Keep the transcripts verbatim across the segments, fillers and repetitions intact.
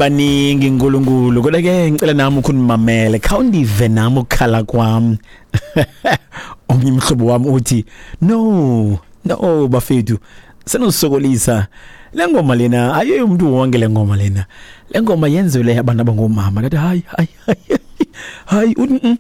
Baningi Nkulunkulu, kodwa ke ngicela nami ukunimamele, khawundive nami ukukhala kwam. Omnye umhlobo wami uthi no no bafethu, senosokolisa le ngoma lena, ayiyo umuntu wonke le ngoma lena, le ngoma yenzelwe abantu abangomama. Ndathi hayi hayi hayi, hayi,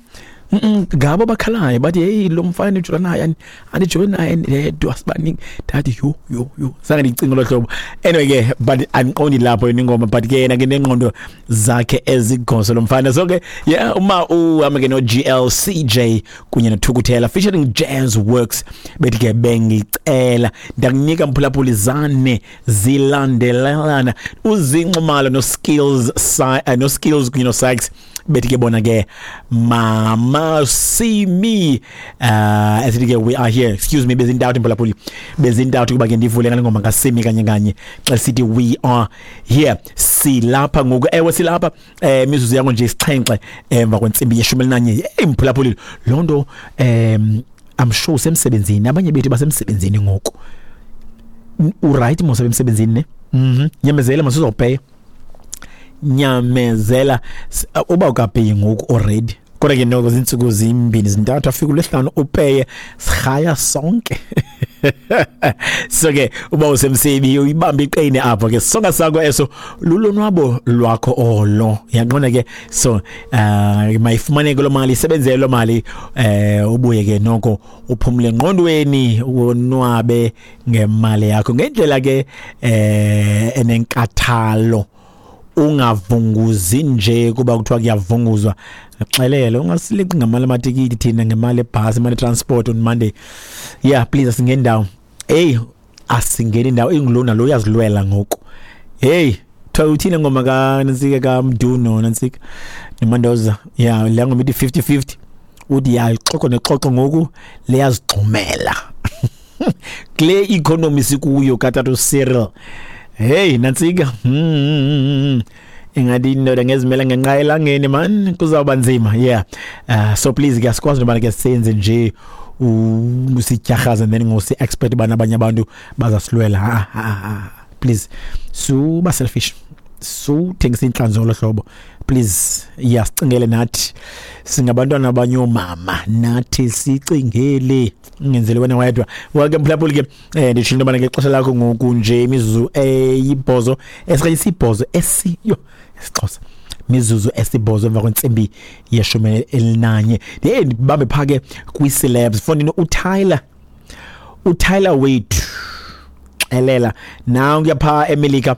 ngabo abakhalayo bathi hey, lo mfana ndijola naye, andijole naye ndedwa, sibaningi. Ndathi yho yho yho, zange ndicinge lo hlobo. Anyway ke, but andiqondi lapho yona ingoma, but ke yena ke nengqondo zakhe ezigoso lo mfana. So ke yeah, uma uhamba ke no G L C J kunye noThukuthela featuring Jazz Works, bethi ke bengicela ndakunika mphulaphuli zane zilandelelana, uZinxumalo no Skills no Skills kunye no Sykes, bethi ke bona ke mama see me, uh esithi ke we are here. Excuse me, bezintathu mphulaphuli, bezintathu kuba ke ndivule ngale ngoma kaSimi kanye kanye xa sithi we are here, silapha ngoku. Ewe silapha, eh mizuzu yango nje isixhenxe emva kwentsimbi yeshumi elinanye. Hey mphulaphuli, lonto um I'm sure usemsebenzini, abanye bethu basemsebenzini ngoku. U right mos emsebenzini ne? Mhm. Nyamezela mos uzopay. Nyamezela uba ukapay ngoku already. Kodwa ke noko zinsuku zimbini zintathu afika ulesihlanu upeye, sihaya sonke. So ke uba usemsebi uyibamba iqine apho ke, sonka sakho eso lulonwabo lwakho olo, yaqonda ke. So uh mayifumaneke lo mali, isebenzele lo mali, eh ubuye ke noko uphumule engqondweni, wonwabe ngemali yakho ngendlela ke eh enenkathalo, ungavunguzi nje kuba kuthiwa kuyavunguzwa. Xelele ungasileqi ngamali amatikiti thina, ngemali ebhasi, imali transport on Monday. Yeah, please asingeni ndawo. Hey, asingeni ndawo, ingulona lo uyazilwela ngoku. Hey, kuthiwa uthini ngoma ka Nansika kaMduno Nansika noMandoza? Yeah, le ngoma ithi fifty fifty. Uthi ya ixoxo nexoxo ngoku liyazigxumela. Kule economy sikuyo katatu Cyril. Hey Nansika, mm ingathi indoda ngezimela ngenqa elangeni man, kuzawuba nzima. Yeah, uh, so please ke asikwazi noba ke senze nje usityarhaza and then ngosi expert bana abanye abantu bazasilwela. Ah, ah, ah, please suba selfish, suthengisa inhlanzi ngolo hlobo please. Yeah, sicingele nathi, singabantwana abanye omama, nathi sicingele, ungenzele wena wedwa. Welcome mphulaphuli ke, eh nditsho into yobana ngexesha lakho ngoku nje imizuzu eyibhozo esikanye isibhozo esiyo isiXhosa, mizuzu esibhozo emva kwentsimbi yeshumi elinanye. Ndiye ndibambe pha ke kwi-celebs fondini, uTyler uTyler wethu xelela nankuya pha eMelika.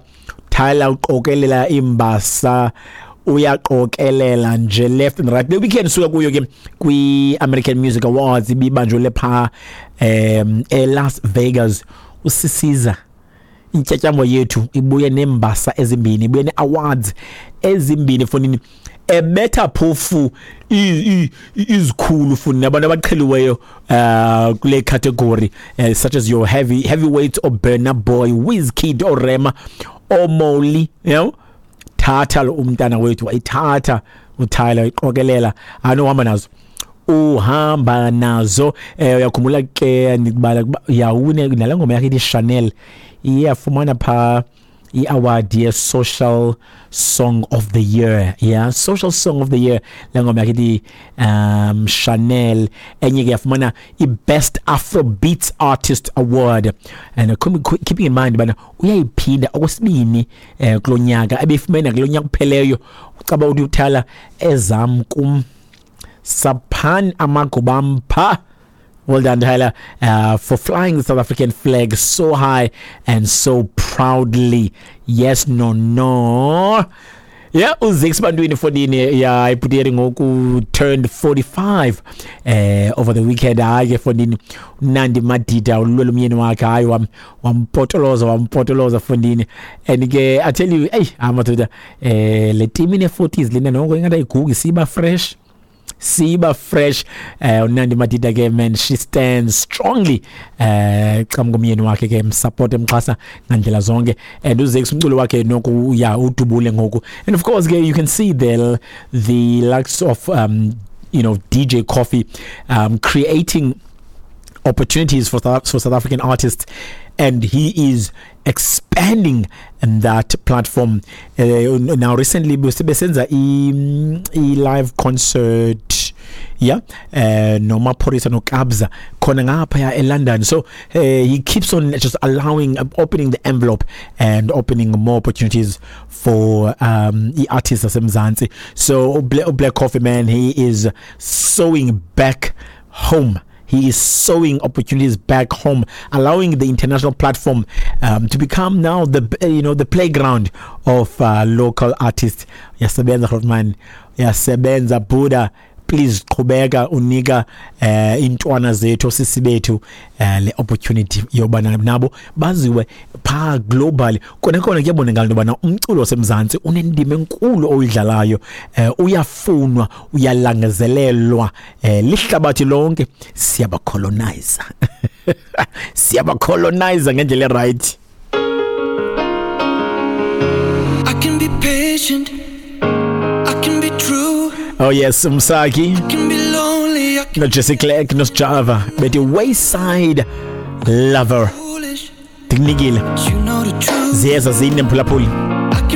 Tyler uqokelela imbasa, uyaqokelela nje left and right. Le weekend suka kuyo ke kwi-American Music Awards ibibanjwe pha um eLas Vegas. Usisiza intyatyambo yethu ibuye nembasa ezimbini, ibuye ne-awards ezimbini fonini, ebetha phofu izikhulu funi nabantu abaqheliweyo uh kule category, uh, such as your heavy heavyweights or Burna Boy, Wizkid or Rema or Molly, you know. Thatha lo umntana wethu wayithatha uTyler, iqokelela anohamba nazo, uhamba nazo. Eh uyakhumbula ke ndikubala yawune nale ngoma yakhe ithi Chanel, iyafumana pha i-award ye-Social Song of the Year. Yeah, Social Song of the Year le ngoma yakhe ithi um Chanel. Enye ke yafumana i-Best Afrobeats Artist Award, and keeping in mind bana uyayiphinda okwesibini eh kulo nyaka, ebefumene kulo nyaka kupheleyo. Ucaba uthi uTyler ezam kum saphan amagubam pha. Well done, Tyler, uh, for flying the South African flag so high and so proudly. Yes, no, no. Yeah, uZix Bantwini fondini, yeah, ibhuteri ngoku turned forty-five eh over the weekend. Hayi ke fondini, Nandi Madida ulwela umyeni wakhe, hayi wam wampotoloza wampotoloza fondini. And ke I tell you, hey, amadoda, eh le team ine forties lena noko ingathi ayigugi, siba fresh. Siba fresh. Eh uNandi Madida ke man, she stands strongly eh qhamuka umyeni wakhe ke, msupport emxhasa ngandlela zonke. And uZix umculo wakhe noku ya udubule ngoku. And of course ke you can see the the likes of um you know D J Coffee um creating opportunities for South, for South African artists, and he is expanding that platform. Uh, now recently besenza i live concert, yeah, uh, noMaphorisa noKabza khona ngapha eLondon. So uh, he keeps on just allowing, uh, opening the envelope and opening more opportunities for um i-artists asemzansi. So Black Coffee, man, he is sewing back home. He is sowing opportunities back home, allowing the international platform um, to become now the you know the playground of uh, local artists. Yasebenza man, yasebenza Buddha. Please qhubeka unika eh intwana zethu, osisi bethu, eh, le opportunity yoba nabo baziwe pha globally. Kona kona kuyabonakala into yobana umculo wasemzantsi unendima enkulu oyidlalayo, eh, uyafunwa, uyalangazelelwa eh, lihlabathi lonke. Siyabacolonize, siyabacolonize ngendlela right. I can be patient, I can be true. Oh yes, Msaki. I can be lonely, I can no Jesse Clerk no Java bethi Wayside Lover. Foolish. Ndikunikile. But you know the truth. Ziyeza zine, mphulaphuli.